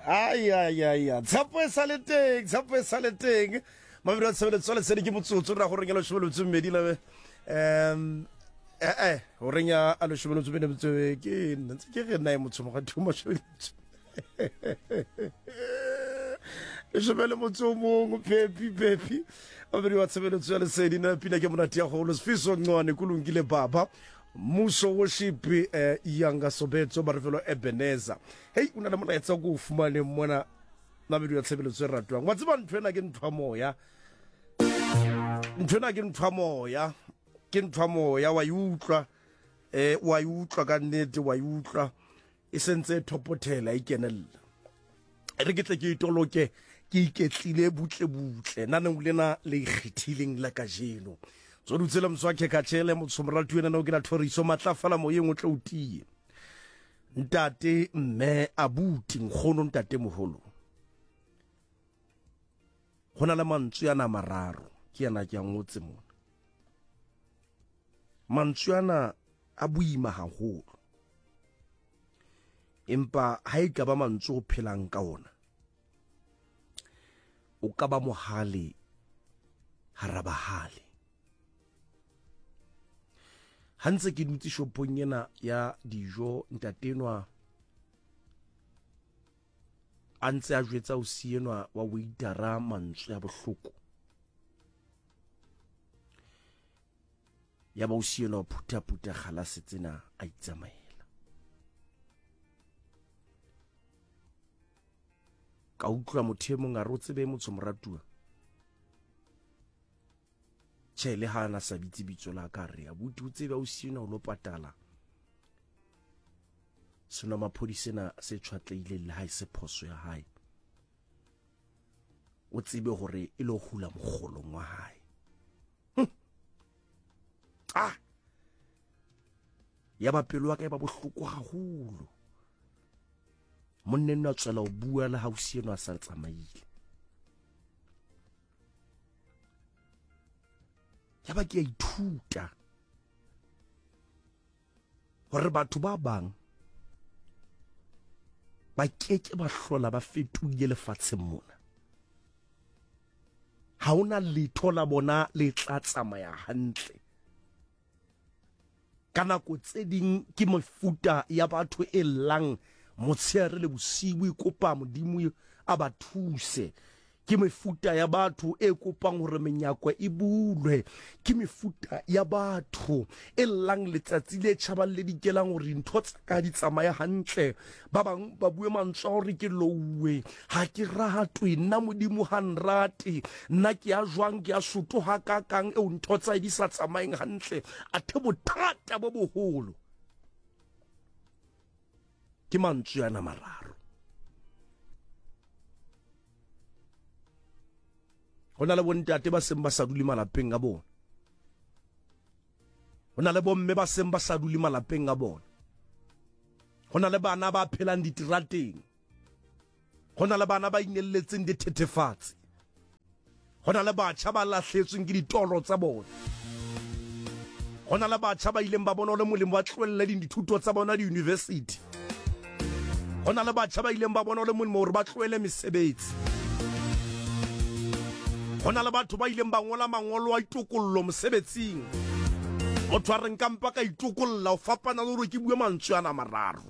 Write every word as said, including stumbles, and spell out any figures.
Ai ai ai ai. Tshepo e sa le teng, tshepo e sa le teng. Mabedi a tshebeletso a lesedi ke motsotso ra gore ya leshome le metso e mmedi le um eh eh horeng ya a leshome le metso e mmedi metso e- ke nna ntse ke re nna e motho moga two mashome le metso leshome le motso o mongwe phepi phepi mabedi wa tshebeletso ya lesedi na pina ke monate ya golo sefiso ncwane kulungile baba mmuso worship eh, yanga sobetso barefelo ebeneza hei o na le molaetsa o ko o fumaneng mona mabedi wa tshebeletso e ratwang wa tseba ntho ena ke ntho ya moya ntho ena ke ntho ya moya ke ntho ya moya wa e utlwa eh wa e utlwa ka nnete wa e utlwa e sentse e thopothela e kenella e re ke tle ke itoloke ke iketlile butle butle naneng lena le ikgethileng la kajeno tso dutse le motswakhe katšhele motshomoratu ena no ke la thoriso matlafala moyeng o tle o tie ntate mme abuti nkgono ntate moholo go na le mantswe ana a mararo ke yana ke a ngotse mona mantswe ana a boima haholo empa ha e ka ba mantswe o phelang ka ona o ka ba mohale hara bahale ha ntse ke dutse shopong ena ya dijo ntatenwa a ntse a jwetsa o sienwa wa waitera mantswe a bohloko ya ba o sienwa o phuthaphutha galase tsena a itsamaela ka utlwa motho e mong a re o tsebe motho moratuwa tjhe le ha ana sa bitse bitso la ka re abuti o tsebe o sienwa o lo patala senwamaphodi sena se tshwatlehileng le ha e se phoso ya hae o tsebe hore e lo hula mokgolong wa hae hm. ah ya ba pelo ya ka e ba bohloko haholo monna enwa a tswela ho bua le hausi enwa a sa tsamaile ya ba ke a ithuta hore batho ba bang ba keke ba hlola ba fetohile lefatsheng mona ha ona letho la bona le tla tsamaya hantle ka nako tse ding ke mefuta ya batho e llang motshehare le bosiu e kopa modimo a ba thuse ke mefuta ya batho e kopang hore menyako e bulwe ke mefuta ya batho e llang letsatsi le tjhabang le dikelang hore dintho tsa ka di tsamaye hantle ba bang ba bue mantswe a hore ke louwe ha ke ratwe nna modimo ha nrate nna ke ya jwang ke ya soto ha kakang eo ntho tsa di sa tsamayeng hantle athe bothata bo boholo ke mantswe ana mararo go na le bontate ba seng ba sa dule malapeng a bona go na le bomme ba seng ba sa dule malapeng a bona go na le bana ba phelang diterateng go na le bana ba inelletseng dithethefatsi go na le batjha ba lahletsweng ke ditoro tsa bona go na le batjha ba ileng ba bona le molemo ba tlohelle dithuto tsa bona di-university go na le batjha ba ileng ba bona le molemo gore ba tlohele mesebetsi go na le batho ba ileng ba ngola mangolo a itokollo mosebetsing motho a re nka mpa ka itokolla o fapana le gore ke bue mantswe ana mararo